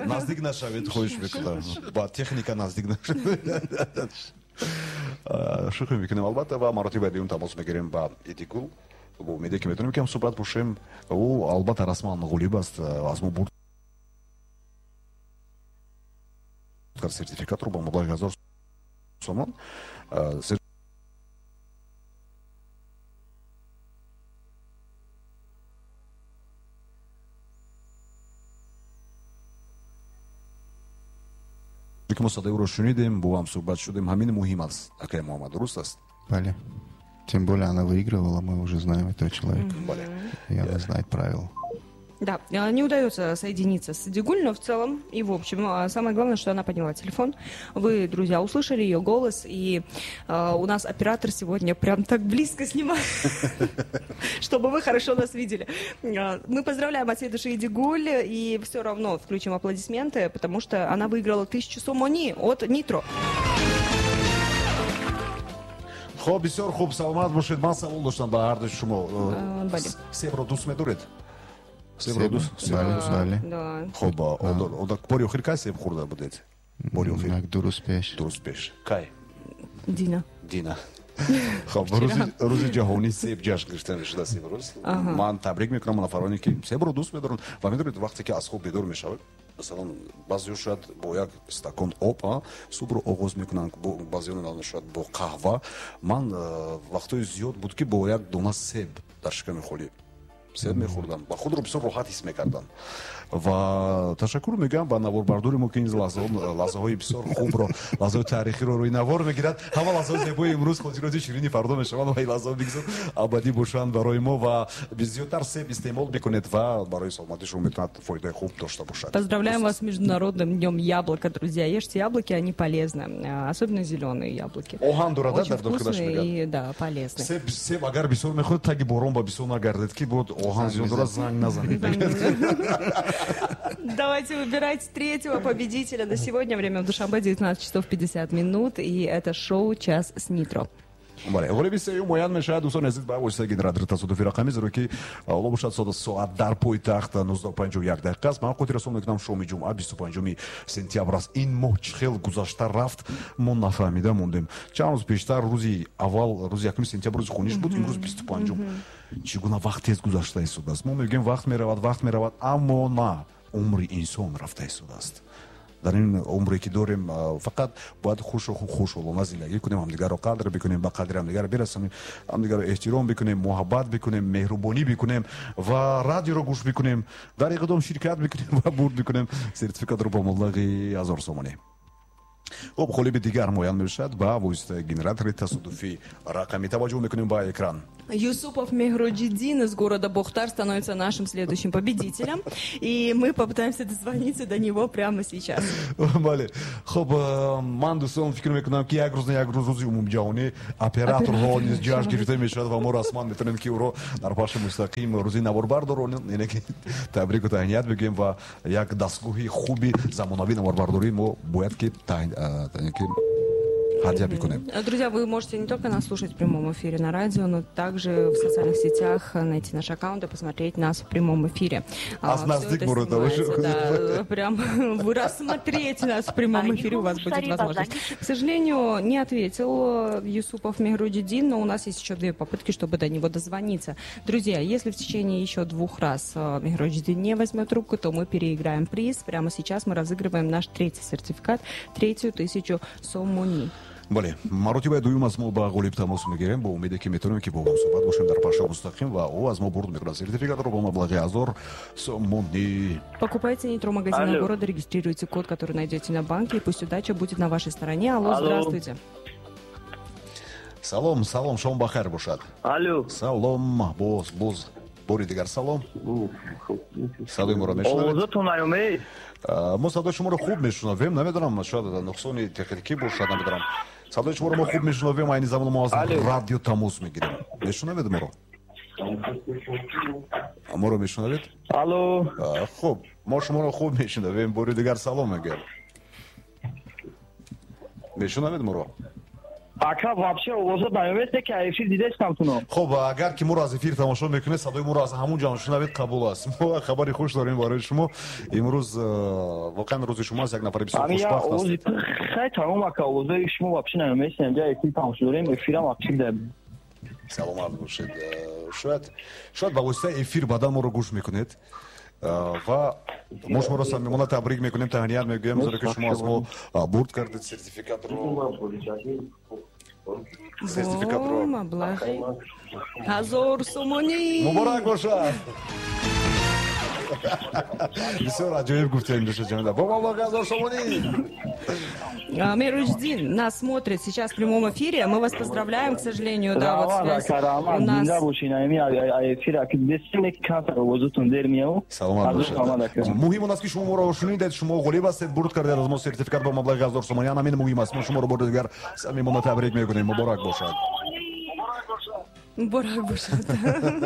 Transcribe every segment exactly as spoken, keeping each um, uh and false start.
Наздик нашавед, хоҳиш мекунам. Ба техника наздик нашавед. Шӯхӣ мекунем, албатта, ва маротиба дуюм тамос мегирем ба Идигул. Бо умеде ки метавонем кам суҳбат бошем. Ӯ албатта расман ғолиб аст, аз мо бурд кард сертификатро бо маблағи ҳазор сомон. Ки мо садои ӯро шунидем, бо ҳам суҳбат шудем, ҳамин муҳим аст. Акай Муҳаммад, дуруст аст? Бале. Тем более она выигрывала, мы уже знаем этого человека. Бале. И она знает правила. Да, не удается соединиться с Идигуль, но в целом и в общем. Самое главное, что она подняла телефон. Вы, друзья, услышали ее голос, и э, у нас оператор сегодня прям так близко снимает, чтобы вы хорошо нас видели. Мы поздравляем от всей души Идигуль, и все равно включим аплодисменты, потому что она выиграла тысячу сомони от Нитро. Хоб, бисёр хуб, саломат бошед. Ман савол доштам ба ҳар дуи шумо. Себро дӯст медоред? Себро дӯст? Бале. Хоб, бори охир кай себ хӯрда будед? Бори охир? Ду рӯз пеш. Ду рӯз пеш. Кай? Дина. Дина. Хоб, рӯзи ҷаҳонии себ ҷашн гирифта мешудааст имрӯз. Ман табрик мекунам нафароне ки себро дӯст медоранд ва медонед, вақте ки аз хоб бедор мешавад, масалан, баъзеҳо шояд бо як стакон об субҳро оғоз мекунанд, баъзеҳо шояд бо қаҳва. Ман вақтҳои зиёд буд ки бо як дона себ дар шиками холӣ себ мехӯрдам ва худро бисёр роҳат ҳис мекардам. Ва ташаккур мегӯям ба наворбардори мо, ки ин лаҳзаҳои бисёр хубро, лаҳзаҳои таърихиро рӯи навор мегирад. Ҳама лаҳзаҳои зебои имрӯз хотироти ширини фардо мешаванд ва ин лаҳзаҳо бигзор абадӣ бошанд барои мо. Ва зиёдтар себ истеъмол бикунед ва барои саломатии шумо метавонад фоидаи хуб дошта бошад. Поздравляем вас с Международным днем яблока, друзья. Ешьте яблоки, они полезны, особенно зеленые яблоки. Оҳан дорад, очень вкусные и, да, полезные. Себ, себ агар бисёр мехӯред, таги борон ба бисёр нагардед, ки буд оҳан зиёд дорад, занг назанед. Давайте выбирать третьего победителя на сегодня. Время в Душанбе девятнадцать часов пятьдесят минут. И это шоу «Час с Нитро». Бале, ғолиби сеюм муайян мешавад, дӯстони азиз, ба воситаи генератори тасодуфи рақамӣ, зеро ки ҳоло бошад соат дар пойтахт нуздаҳу панҷоҳу як дақиқа аст. Ман хотиррасон мекунам, шоми ҷумъа бисту панҷуми сентябр аст. Ин моҳ чӣ хел гузашта рафт, мо нафаҳмида мондем. Чанд рӯз пештар, рӯзи аввал, рӯзи якуми сентябр, рӯзи хуниш буд, имрӯз бисту панҷум. Чӣ гуна вақт тез гузашта истодааст. Мо мегӯем вақт меравад, вақт меравад, аммо на, умри инсон рафта истодааст. Дар ин умре ки дорем, фақат бояд хушу хушҳолона зиндагӣ кунем, ҳамдигарро қадр бикунем, ба қадри ҳамдигар бирасонем, ҳамдигарро эҳтиром бикунем, муҳаббат бикунем, меҳрубонӣ бикунем ва радиоро гӯш бикунем, дар иқдом ширкат бикунем ва бурд бикунем сертификатро бо маблағи ҳазор сомонӣ. Хуб, ғолиби дигар муайян мешавад ба воситаи генератори тасодуфи рақамӣ. Таваҷҷӯҳ мекунем ба экран. Юсупов Мехруджидин из города Бохтар становится нашим следующим победителем. И мы попытаемся дозвониться до него прямо сейчас. Бале. Хуб, ман дӯстон фикр мекунам, ки як рӯз на як рӯз рӯзи умумиҷаҳонӣ операторҳо низ ҷашн гирифта мешавад ва мо расман метавонем, ки ӯро дар пахши мустақим рӯзи наворбардорро яъне ки табрику таҳният бигӯем ва як дастгоҳи хуби замонавии наворбардорӣ мо бояд ки ҳадя бикунем. Друзья, вы можете не только нас слушать в прямом эфире на радио, но также в социальных сетях найти наш аккаунт и посмотреть нас в прямом эфире. А наздик да, прям вы рассмотреть нас в прямом эфире у вас будет возможность. К сожалению, не ответил Юсупов Мехруджидин, но у нас есть еще две попытки, чтобы до него дозвониться. Друзья, если в течение еще двух раз Мехруджидин не возьмет трубку, то мы переиграем приз. Прямо сейчас мы разыгрываем наш третий сертификат, третью тысячу сомони. Бале, маротибаи дуюм аз мо ба ғолиб тамос мегирем, бо умеде ки метавонем ки бо ҳам суҳбат бошем дар пахши мустақим ва ӯ аз мо бурд мекунад сертификатро бо маблағи ҳазор сомонӣ. Покупайте Нитро магазина города, регистрируйте код, который найдете на банке, и пусть удача будет на вашей стороне. Алло, Алло. Здравствуйте. Салом, салом, шом бахайр бошад. Алло. Салом, боз, боз. Бори дигар салом. Садои моро мешунавед? Овозатон наёмед? Мо садои шуморо хуб мешунавем, намедонам, шояд нуқсони техникӣ бошад, намедонам. Садои шуморо мо хуб мешунавем, айни замон мо аз радио тамос мегирем. Мешунавед моро? Моро мешунавед? Алло. Хуб, мо шуморо хуб мешунавем, бори дигар салом мегӯям. Мешунавед моро? Ака вообще овозот намемест ки эфир дидестам туно. Хуб, агар ки моро аз эфир тамошо мекунед, садои моро аз ҳамон ҷо шунавед, қабул аст. Мо хабари хуш дорем барои шумо. Имрӯз воқеан рӯзи шумо аст, як нафари бисёр хушбахт аст. Хай тамом ака, овозои шумо вообще намемест, инҷа эфир тамошо дорем, эфирам вообще деб. Саломат бошед. Шояд шояд ба воситаи эфир баъдан моро гӯш мекунед ва мо шуморо самимона табрик мекунем, таҳният мегӯем, зеро ки шумо аз мо бурд кардед сертификатро. Сертификатро маблағи ҳазор сомонӣ. Муборак бошад. Бисёр аҷоиб гуфтем, Душа Ҷамила. Бо маблағи ҳазор сомонӣ. Мироҷиддин нас смотрит сейчас в прямом эфире. Мы вас поздравляем, к сожалению, да, вот связь у нас. Саломат бошед. Муҳим он аст ки шумо моро шунидед, шумо ғолиб ҳастед, бурд кардед аз мо сертификат бо маблағи ҳазор сомонӣ. Ҳамин муҳим аст. Мо шуморо бори дигар самимона табрик мекунем. Муборак бошад. Муборак бошад.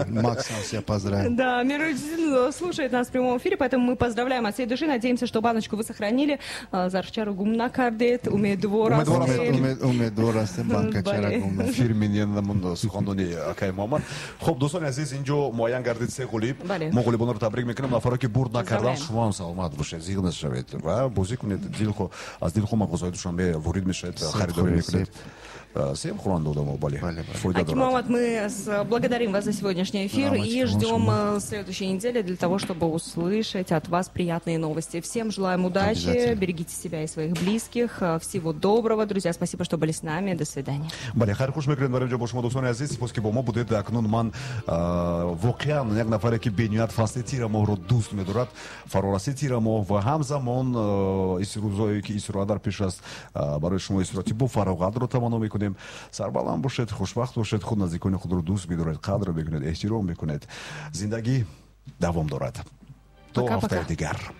Макс сам себя поздравил. Да, Мироҷиддин слушает нас в прямом эфире, поэтому мы поздравляем от всей души. Надеемся, что баночку вы сохранили. Зарфчару гум накардед, умедвор астем. Умедвор астем, банкачара гум. Фирминен суханони акай Муҳаммад. Хуб, дӯстони азиз, инҷо муайян гардид се ғолиб. Мо ғолибонро табрик мекунем. Нафаре ки бурд накардан, шумо ҳам саломат бошед, зиғ нашавед ва бозӣ кунед. Дилхо аз дилхо мағозаҳои Душанбе ворид мешавед, харидорӣ мекунед. Всем хуран дома, бале. Аким Муҳаммад, мы благодарим вас за сегодняшний эфир и ждем следующей недели для того, чтобы услышать от вас приятные новости. Всем желаем удачи, берегите себя и своих близких. Всего доброго, друзья. Спасибо, что были с нами. До свидания. Бале, хайр хуш мекунем барои ҷо бо шумо, дӯстони азиз. Сипос ки бо мо будед. Акнун ман воқеан як нафаре ки бениҳоят фасли тирамоҳро дӯст медорад, фарораси тирамоҳ ва ҳамзамон рӯзое ки истироҳат дар пеш аст, барои шумо истироҳати бо фароғатро таманно мекунем. Сарбаланд бошед, хушбахт бошед, худ наздикони худро дӯст бидоред, қадр бикунед, эҳтиром бикунед. Зиндагӣ давом дорад. То ҳафтаи дигар.